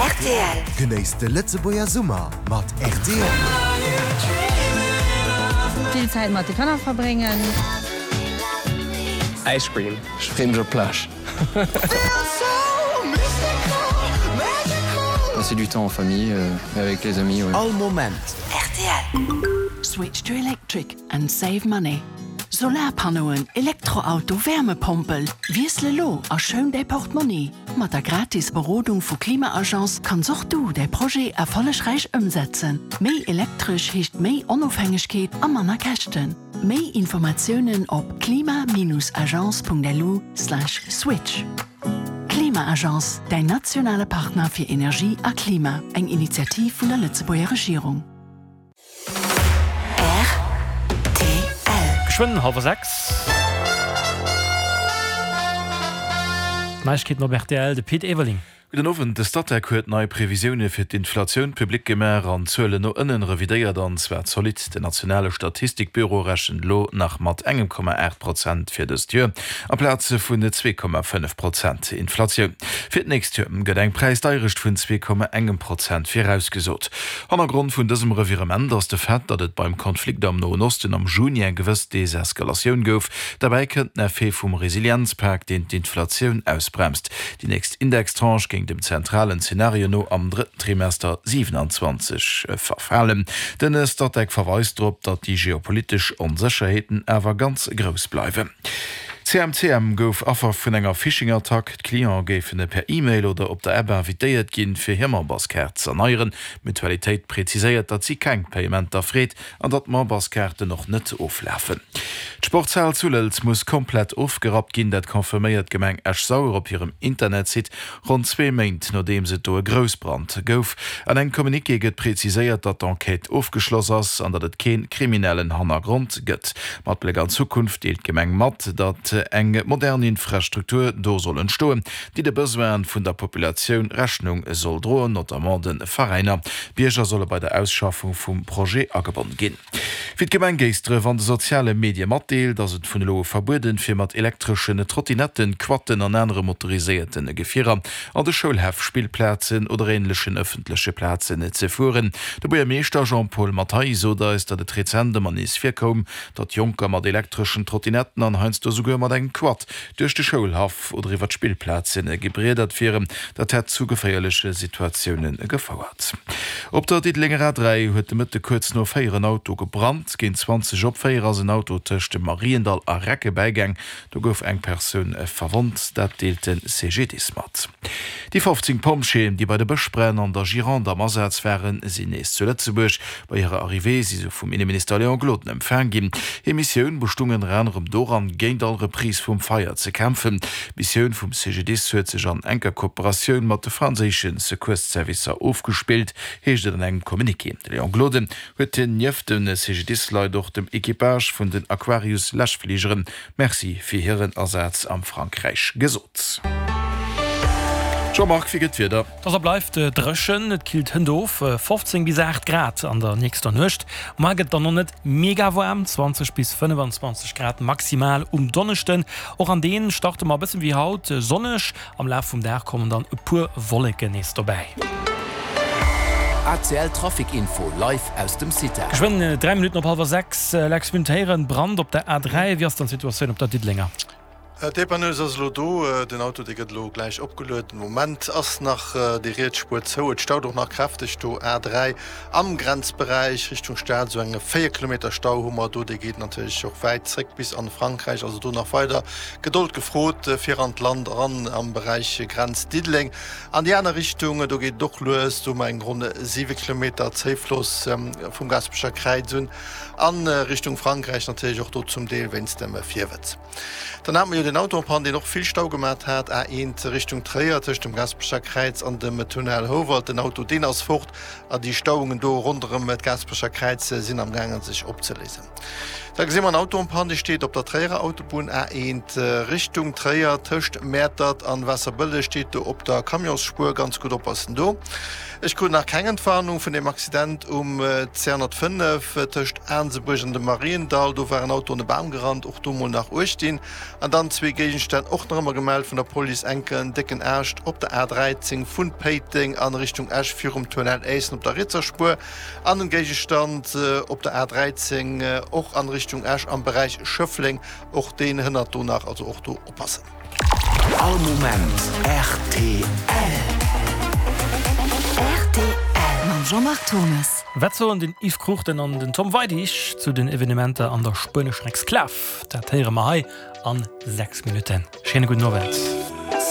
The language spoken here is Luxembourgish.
Rtl. Genéisst de Lëtzebuerger Summer mat rtl. Vill Zäit mat de Kanner verbréngen. Ice cream. Ech freeë mech op d'Plage. Passer du temps en famille et avec les amis, ouais. All Moment. Rtl. Switch to electric and save money. Solarpannoen, Elektroauto, Wärmepompel, Wiessel elo a schoun däi Portmonni! Mat der gratis Berodung vu Klima-Agence kanns och du däi Projet erfollegräich ëmsetzen. Méi elektresch heescht méi Onofhängegkeet a manner Käschten. Méi Informatiounen op klima-agence.lu/switch. Klima-Agence, däin nationale Partner fir Energie a Klima, eng Initiativ vun der Lëtzebuerger Regierung. Rtl. Geschwënn hallwer 6. D'Neiegkeeten op rtl, de Pit Everling. Gudden Owend. De Statec huet nei Previsioune fir d'Inflatioun public gemaach an d'Zuelen no ënnen revidéiert, an zwar zolidd. Den nationale Statistikbüro rechent elo nach mat engem Komma 8 Prozent fir dëst Joer, amplaz vun 2,5 Prozent Inflatioun. Fir d'nächst Joer gëtt eng Präisdeierecht vun 2,engem Prozent virausgesot. Hannergrond vun dësem Revirement ass de Fait, datt et beim Konflikt am Noen Osten am Juni eng gewëss Deseskalatioun gouf. Derbäi kënnt den Effet vum Resilienzpak, deen d'Inflatioun ausbremst. Déi nächst Indextranche géing dem zentralen Zenario no am drëtten Trimester 27 verfalen. Den Statec verweist drop, datt déi geopolitesch Onsécherheeten awer ganz grouss bleiwen. CMCM gouf Affer vun enger Phishing-Attack. D'Cliente géifen per E-Mail oder op der App invitéiert ginn, fir hir Memberskaart z'erneieren. D'Mutualitéit präziséiert, datt si keng Payementer freet an datt d'Memberskaarten och net oflafen. D'Sportshal zu Lëlz muss komplett ofgerappt ginn. Dat confirméiert d'Gemeng Esch-Sauer op hirem Internetsite, ronn zwee Méint nodeems et do e Groussbrand gouf. An engem Communiqué gëtt präziséiert, datt d'Enquête ofgeschloss ass an datt et kee kriminellen Hannergrond gëtt. Mat Bléck an d'Zukunft deelt d'Gemeng mat, datt eng modern Infrastruktur do soll entstoen, déi de Besoine vun der Populatioun Rechnung soll droen, notamment de Veräiner. D'Bierger solle bei der Ausschaffung vum Projet agebonn ginn. Wéi d'Gemeng Géisdref an de soziale Medie matdeelt, ass et vun elo u verbueden, fir mat elektreschen Trottinetten, Quatten an anere motoriséierte Gefierer an de Schoulhäff, Spillplazen oder änlechen ëffentleche Plazen ze fueren. De Buergermeeschter Jean-Paul Mathay sot eis, datt et rezent ëmmer nees virkoum, datt Jonker mat elektreschen Trottinetten an heiansdo souguer mat engem Quad duerch de Schoulhaff oder iwwer d'Spillplaze gebriedert wieren. Dat hätt zu geféierleche Situatioune gefouert. Op der Diddelenger A3 huet de Mëtte kuerz no 4 en Auto gebrannt. Géint 20 op 4 ass en Auto tëscht dem Mariendall a Recke bäigaang. Do gouf eng Persoun verwonnt, dat deelt de CGDIS mat. Déi 15 Pompjeeën, déi bei de Bëschbränn an der Gironde am Asaz waren, sinn nees zu Lëtzebuerg. Bei hirer Arrivée si se vum Inneminister Léon Gloden empfaang ginn. Hir Missioun bestung ënner anerem doran, géint all Reprise vum Feier ze kämpfen. D'Missioun vum CGDIS huet sech an enker Kooperatioun mat de franséische Secours-Servicer ofgespillt, heescht et an engem Communiqué. De Léon Gloden huet nieft de CGDIS-Leit och dem Equipage vun den Aquarius-Läschfligeren Merci fir hiren Asaz am Frankräich gesot. Jean-Marc, wéi gëtt d'Wieder? Et ass a bleift dréchen, et killt hënt of, 15 bis 8 Grad an der nächster Nuecht. Muar gëtt et dann och net mega waarm, 20 bis 25 Grad maximal um Donneschden. Och an deen starte mer e bëssen wéi haut sonneg, Am Laf vum Dag kommen dann e puer Wolleken nees dobäi. ACL Trafic Info live aus dem CITA. Geschwënn 3 Minutten op hallwer 6, Lex Müntéieren, Brand op der A3. Wéi ass dann d'Situatioun op der Diddelenger? D'Dépanneuse ass elo do. Den Auto dee gëtt elo gläich opgelueden. Den Moment ass nach déi riets Spuer zou. Et staut och nach kräfteg do A3 am Grenzberäich Richtung Stad. Esou enge 4 Kilometer Stau hu mer do. Dee geet natierlech och wäit zréck bis an Frankräich. Also do nach weider Gedold gefrot fir an d'Land eran am Beräich Grenz Diddeleng. An déi aner Richtung, do geet et och lues. Do hu mer eng ronn 7 Kilometer Zéifloss vum Gaasperecher Kräiz un a Richtung Frankräich, natierlech och do zum Deel wéinst dem Virwëtz. Dann hate mer jo den Auto en panne, deen och vill Stau gemat hat, A1 Richtung Tréier tëscht dem Gaasperecher Kräiz an dem Tunnel Houwald. Den Auto deen ass fort a déi Stauungen do ronderëm d'Gaasperecher Kräiz sinn am gaangen sech opzeléisen. Da gesi mer en Auto en panne, dee steet op der Tréierer Autobunn A1 Richtung Tréier, tëscht Mäertert an Waasserbëlleg, steet do op der Camionsspuer. Ganz gutt oppassen do. Ech krut nach keng Entwarnung vun deem Accident um 205 tëscht Aansebuerg an dem Mariendall. Do war en Auto an e Bam gerannt, och do mol nach uecht dinn. An dann zwee Géigenstänn och nach ëmmer gemellt vun der Police, enken décken Aascht op der A13 vun Péiteng an Richtung Esch virum Tunnel Éissen op der rietser Spuer an en Géigestand op der A13 och an Richtung Esch am Beräich Schëffleng. Och deen hënnert do nach, also och do oppassen. All Moment rtl. Rtl mam Jean-Marc Thomes. Wat soen den Yves Cruchten an den Tom Weidig zu den Evenementer an der spuenescher Exklav? Dat héiere mer hei an 6 Minutten. Schéine gudden Owend.